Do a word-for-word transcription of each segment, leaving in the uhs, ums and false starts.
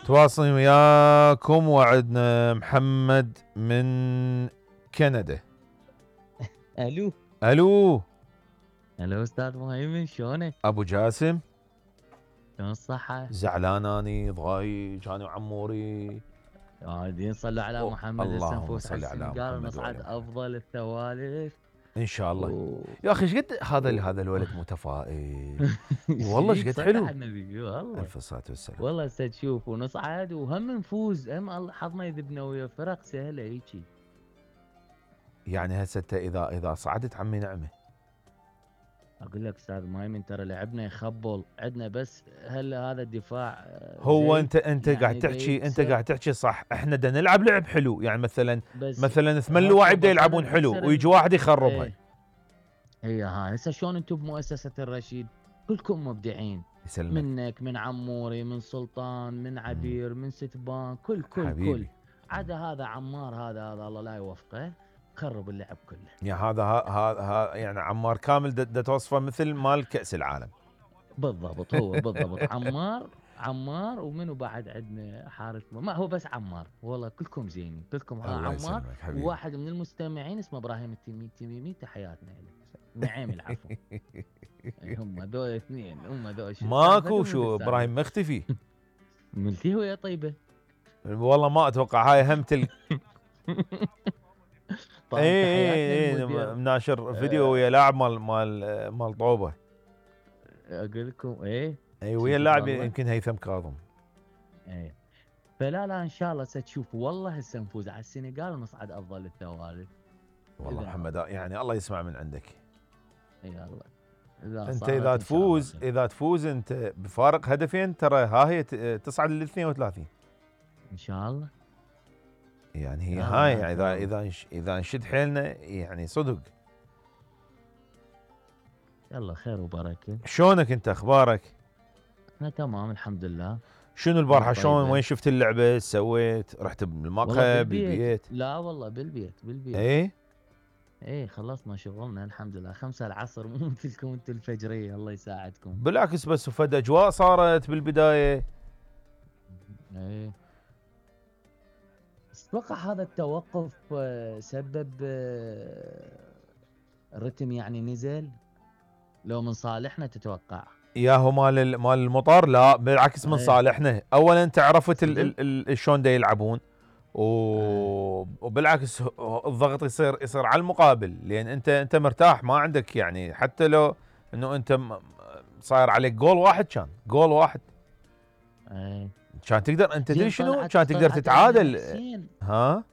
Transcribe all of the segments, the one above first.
تواصل وياكم وعدنا محمد من كندا. الو الو الو استاذ مهيمن، شلونك؟ ابو جاسم، شلون الصحة؟ زعلان اني ضايج انا وعموري. قاعدين صلوا على محمد، هسه اللهم نفوس على صل على السنغال محمد ونصعد وعلى محمد افضل الثوالث. ان شاء الله. و... يا اخي ايش قد هذا و... هذا الولد متفائل والله، ايش قد صلى حلو. على النبي والله. الف صلاه والسلام. والله هسه تشوف ونصعد وهم نفوز، هم الله حظنا يذبنا ويا فرق سهلة هيجي. يعني هسه انت اذا اذا صعدت عمي نعمه. اقول لك استاذ مايمن ترى لعبنا يخبل عندنا، بس هل هذا الدفاع هو زي انت انت يعني قاعد تحكي انت يكسر. قاعد تحكي صح، احنا بدنا نلعب لعب حلو، يعني مثلا بس مثلا ثمان هسه لواعي بدا بطلنا يلعبون حلو نكسر ويجي ال- واحد يخربها. ايه هي هاي هسه شلون انتم بمؤسسة الرشيد كلكم مبدعين، يسلمك منك من عموري من سلطان من عبير من ستبان، كل كل حبيبي. كل عدا هذا عمار، هذا هذا الله لا يوفقه، خرب اللعب كله. يا هذا هذا يعني عمار كامل دا توصفه مثل مال كأس العالم بالضبط هو بالضبط عمار عمار ومنو بعد عندنا حارس، ما هو بس عمار، والله كلكم زينين كلكم. ها الله عمار يسلمك حبيبي. وواحد من المستمعين اسمه ابراهيم التميمي، التميمي تحياتنا له، نعيم العفو. هم ذول اثنين، هم ذول ماكو شو ابراهيم مختفي. ملتي هو يا طيبه. والله ما اتوقع، هاي هم تل طبعا اي تحياتنا اي المدير. مناشر فيديو ويا لاعب مال مال مال طوبه. اقول لكم ايه اي ويا اللاعب يمكن هيثم كاظم. ايه فلا لا ان شاء الله ستشوف، والله هسه نفوز على السنغال ونصعد افضل الثوالث. والله محمد يعني الله يسمع من عندك. اي الله. إذا انت اذا تفوز اذا تفوز انت بفارق هدفين ترى ها هي تصعد لل اثنين وثلاثين ان شاء الله. يعني هي هاي يعني اذا اذا اذا نشد حيلنا يعني صدق. يلا خير وبركه. شلونك انت، اخبارك؟ انا تمام الحمد لله. شنو البارحه شلون، وين شفت اللعبه، سويت رحت بالمقهى بالبيت؟ لا والله بالبيت بالبيت. ايه ايه خلصنا شغلنا الحمد لله، خمسة العصر مو مثلكم انتم الفجريه، الله يساعدكم. بالعكس بس فد اجواء صارت بالبدايه. ايه اتوقع هذا التوقف سبب الرتم يعني نزل، لو من صالحنا تتوقع؟ ياهو مال مال المطار، لا بالعكس من ايه. صالحنا. اولا انت عرفت شلون دا يلعبون و... ايه. وبالعكس الضغط يصير يصير على المقابل، لان انت انت مرتاح ما عندك يعني، حتى لو انه انت صاير عليك جول واحد، كان جول واحد ايه كان تقدر انت تدري شنو، كان تقدر تتعادل. ها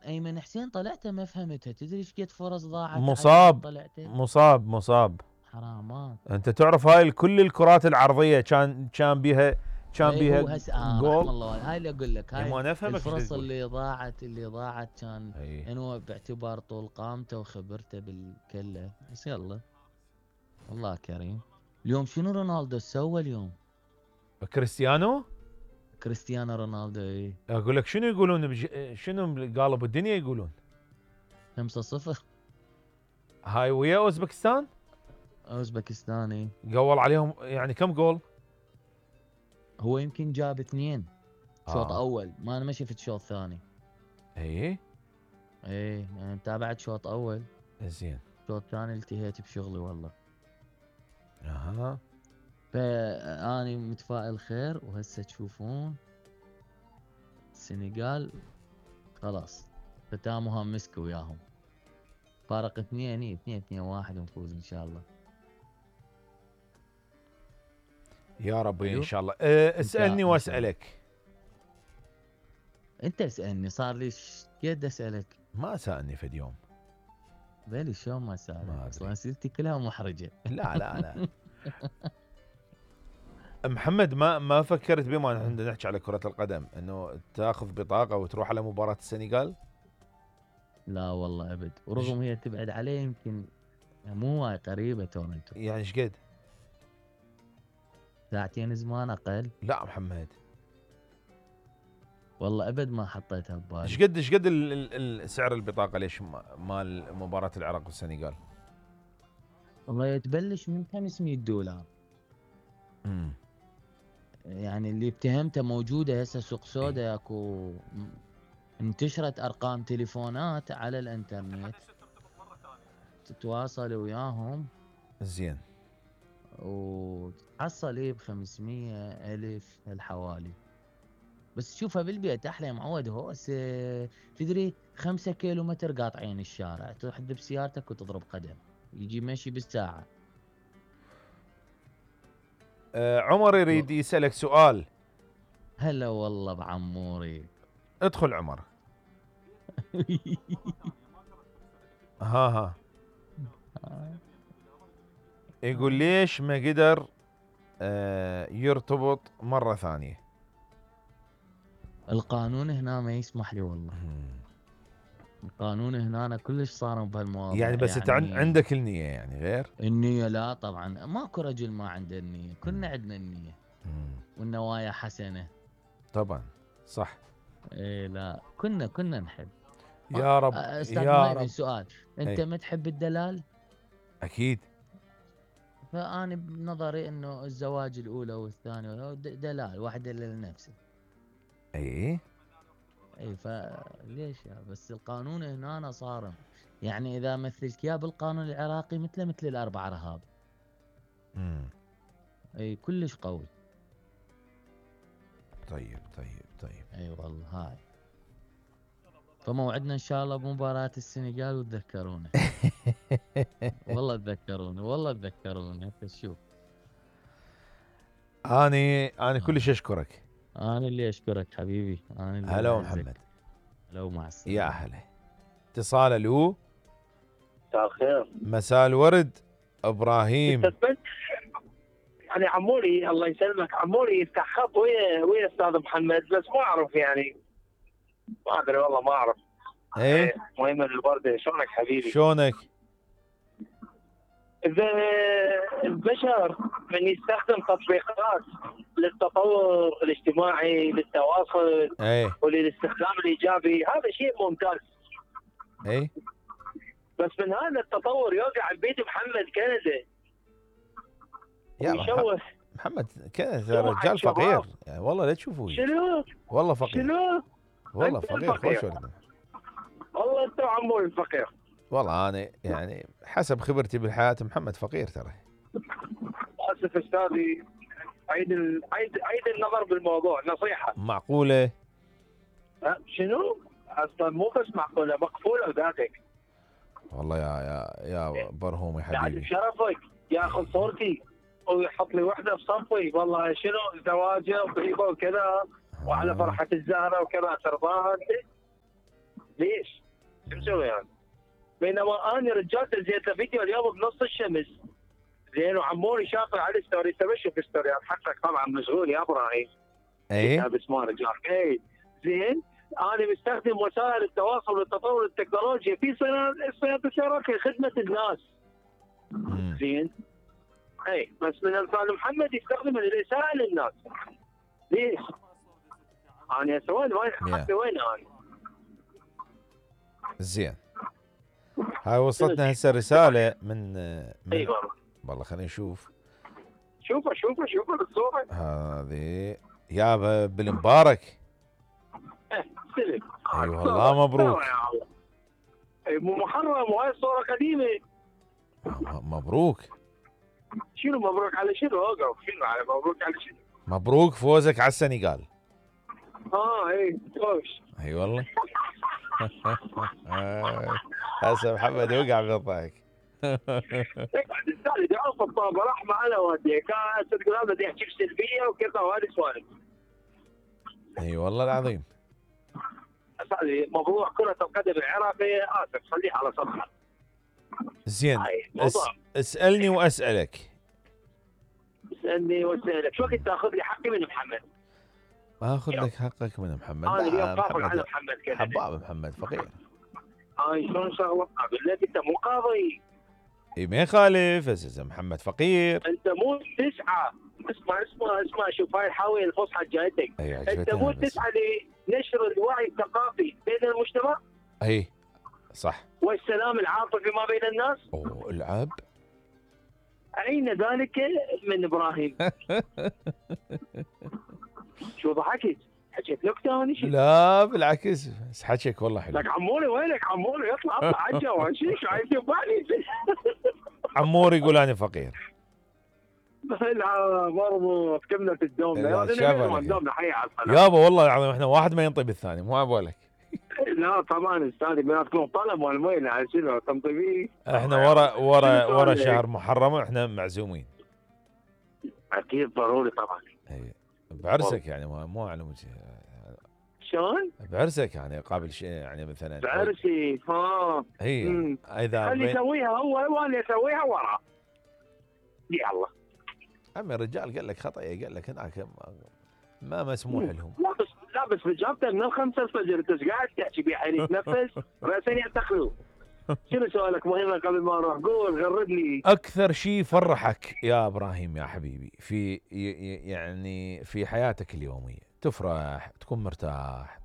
ايمن حسين طلعته ما فهمتها، تدري ايش قد فرص ضاعت؟ مصاب مصاب مصاب حرامات. انت تعرف هاي كل الكرات العرضيه كان كان بيها كان بيها هو هسه آه رحم الله، هاي اللي اقول لك، هاي ما نفهمك الفرص اللي ضاعت اللي ضاعت كان انه باعتبار طول قامته وخبرته بالكله، بس يلا والله كريم. اليوم شنو رونالدو سوى اليوم؟ كريستيانو كريستيانو رونالدو اي اقول لك شنو يقولون بج... شنو قالوا بالدنيا يقولون خمسة صفر هاي ويا اوزبكستان. اوزبكستاني قول عليهم يعني كم جول؟ هو يمكن جاب اثنين شوط آه. اول، ما انا ما شفت شوط ثاني. اي اي يعني تابعت شوط اول زين، شوط ثاني التهيت بشغلي والله. اها فاني متفائل خير، وهسه تشوفون السنغال خلاص ختامها مسك وياهم، فارق اثنين اثنين اثنين واحد ونفوز ان شاء الله يا ربي ان شاء الله. أه اسالني واسالك. انت اسالني، صار لي قد اسالك. ما سالني فد يوم. بالي شلون ما سالك، اصلا اسئلتي كلها محرجه. لا لا لا محمد ما ما فكرت بما نحن نحكي على كرة القدم انه تاخذ بطاقة وتروح على مباراة السنغال؟ لا والله ابد، ورغم هي تبعد عليه يمكن مو وايد قريبة تورنتو. يعني ايش قد؟ ساعتين زمان اقل. لا محمد والله ابد ما حطيتها ببالي. ايش قد ايش قد سعر البطاقة ليش مال مباراة العراق والسنغال؟ والله يتبلش من خمسمية دولار. امم يعني اللي اتهمته موجوده هسه سوق سودا، اكو انتشرت ارقام تليفونات على الانترنت تتواصل وياهم زين، وتحصل ايه بخمسمية الف الحوالي. بس تشوفها بالبيت احلى يا معود. هوسه تدري خمسة كيلو متر قاطعين الشارع، تحد بسيارتك وتضرب قدم، يجي مشي بالساعه. آه عمر يريد يسألك سؤال. هلا والله بعموري. ادخل عمر. ها ها يقول ليش ما قدر آه يرتبط مرة ثانية؟ القانون هنا ما يسمح لي والله. القانون هنا أنا كلش صارم بهالمواضيع. يعني بس يعني انت عندك النية يعني غير النية؟ لا طبعا ماكو رجل ما عنده النية، كلنا عندنا النية والنوايا حسنة طبعا. صح. ايه لا كنا كنا نحب. يا رب استاذ يا مهيمن رب. سؤال، انت ايه. ما تحب الدلال؟ اكيد. فأنا بنظري انه الزواج الاولى والثانية دلال، واحد دلال نفسه. اي اي فليش يا بس القانون هنا أنا صارم. يعني اذا مثلك يا بالقانون العراقي مثله مثل الاربع رهاب. امم اي كلش قوي. طيب طيب طيب. اي والله هاي. فموعدنا ان شاء الله بمباراة السنغال وتذكرونا. والله تذكروني، والله تذكروني. انت شوف. اني انا كلش اشكرك. انا اللي اشكرك حبيبي. انا اللي هلا أعزك. محمد. هلا ومع السلامة. يا هلا. اتصال الو. مساء الخير. مساء الورد ابراهيم. يعني عموري الله يسلمك، عموري يفتح خط ويا ويا استاذ محمد، بس ما اعرف يعني ما ادري والله ما اعرف. ايه مهيمن البردي، شلونك حبيبي؟ شلونك؟ اذا البشر من يستخدم تطبيقات للتطور الاجتماعي للتواصل ايه وللاستخدام الايجابي، هذا شيء ممتاز. ايه بس من هذا التطور يوقع ببيت محمد كندا يا ويشوه. محمد كذا رجال فقير يعني والله لا تشوفوه. شنو؟ والله فقير. شنو؟ والله فقير خوش ولد. والله انت عمور الفقير. والله انا يعني حسب خبرتي بالحياه محمد فقير ترى. اسف استاذي، عيد ال... عيد عيد النظر بالموضوع، نصيحه. معقوله؟ أه شنو؟ اصلا مو بس معقوله، مقفوله وذاتك. والله يا يا يا برهوم يا بعد حبيبي. بشرفك ياخذ صورتي ويحط لي وحده بصفي، والله شنو زواجه وطيبه وكذا وعلى فرحه الزهره وكذا، ترضاها انت؟ ليش؟ شو مسوي يعني؟ بينما انا رجال نزلت فيديو اليوم بنص الشمس زين، وعموري شافه على الستوري. انت ما تشوف ستوريات حقك طبعا، مشغول يا ابراهيم. ايه بس ما رجال. اي زين، انا مستخدم وسائل التواصل والتطور التكنولوجيا في صيانه السيارات في خدمه الناس. زين. اي بس من امثال محمد يستخدمها للاساءه للناس. ليش؟ انا هسه وين وين حقي وين انا؟ زين. هاي وصلتنا هسه رساله من, من اي والله. والله خلينا نشوف. شوفه شوفه شوفه بالصوره. هذه يابا بالمبارك. ايه سلم. اي والله مبروك. اي مو محرم، وهاي الصوره قديمه. مبروك. شنو مبروك على شنو؟ اوقف. شنو على مبروك على شنو؟ مبروك فوزك على السنغال. اه اي خوش. اي والله. هسه محمد وقع بالضحك. يقعد الثاني يدعون في الطابه رحمه انا ودي كان تقول هذا بدي يحكي سلبيه وكذا وهذه سوالف. اي والله العظيم. اسالي موضوع كره القدم العراقيه، اسف خليه على صفحه. زين اس... اسالني واسالك. اسالني واسالك. شو وقت تاخذ لي حقي من محمد؟ اخذ لك حقك من محمد. انا اليوم قافل على محمد كذا. حباب محمد فقير. هاي شلون شغله؟ اقول لك انت مو قاضي. اي ما يخالف بس محمد فقير. انت مو تسعى. اسمع اسمع اسمع شوف هاي الحاويه الفصحى جايتك. انت مو تسعى لنشر الوعي الثقافي بين المجتمع؟ اي صح. والسلام العاطفي ما بين الناس؟ اوه العب. اين ذلك من ابراهيم؟ شو ضحكت؟ حكيت نكته انا شو؟ لا بالعكس، بس حكيك والله حلو. لك عموري وينك عموري؟ اطلع اطلع على الجو شو شو عايز يبالي؟ عمور يقول انا فقير. لا مربوط كملة الدوم. لا، لا شاف عليك. الدوم حي على الصلاة. يابا والله العظيم احنا واحد ما ينطي بالثاني، مو عبالك. لا طبعا استاذي بيناتكم طلب والمين على شنو تنطي فيه؟ احنا ورا ورا شنو ورا سؤالك؟ شهر محرم احنا معزومين. اكيد ضروري طبعا. اي بعرسك يعني مو مو على وجه. شلون؟ بعرسك يعني قابل شيء يعني مثلا. بعرسي ها. هي مم. اذا خلي بين- يسويها هو وانا اسويها وراه. يلا. عمي الرجال قال لك خطأ، قال لك هناك ما- ما مسموح لهم. لا بس لا بس رجعتك من الخمسة الفجر انت ايش قاعد تحكي بيه حيل يتنفس راسين يعتقلوا. شنو سؤالك مهمة قبل ما اروح؟ قول غردني. اكثر شيء فرحك يا ابراهيم يا حبيبي في ي- ي- يعني في حياتك اليوميه، تفرح تكون مرتاح؟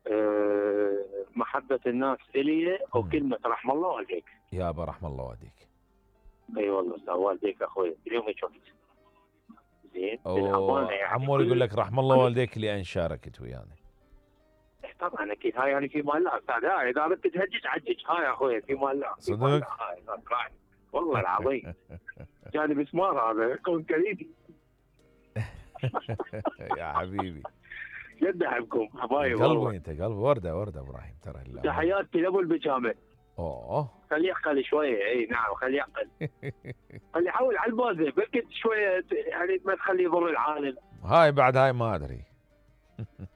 أه محبة الناس الي وكلمة رحم الله والديك. يابا رحم الله والديك. اي والله استاذ والديك اخوي اليوم شفت. زين أو بالأمانة يعني عمور يقول لك رحم الله والديك لان شاركت ويانا. طبعا اكيد هاي يعني في مال الله استاذ. هاي اذا بدك تهجج عجج هاي يا اخوي في مال الله. في مال الله. صدق؟ هاي راح. والله العظيم جاني مسمار هذا كون كريدي. يا حبيبي جد احبكم حبايب قلبي، والله. انت قلبي ورده ورده ابراهيم ترى. لا. تحياتي لابو البجامه. اوه خليه يعقل شويه. اي نعم خليه يعقل. خليه يحاول على البازه بلكي شويه يعني ما تخليه يضر العالم. هاي بعد هاي ما ادري.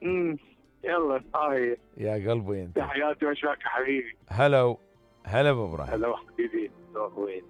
امم يلا هاي يا قلبي انت. تحياتي واشواك حبيبي. هلا هلا بابراهيم. هلا حبيبي اخوي.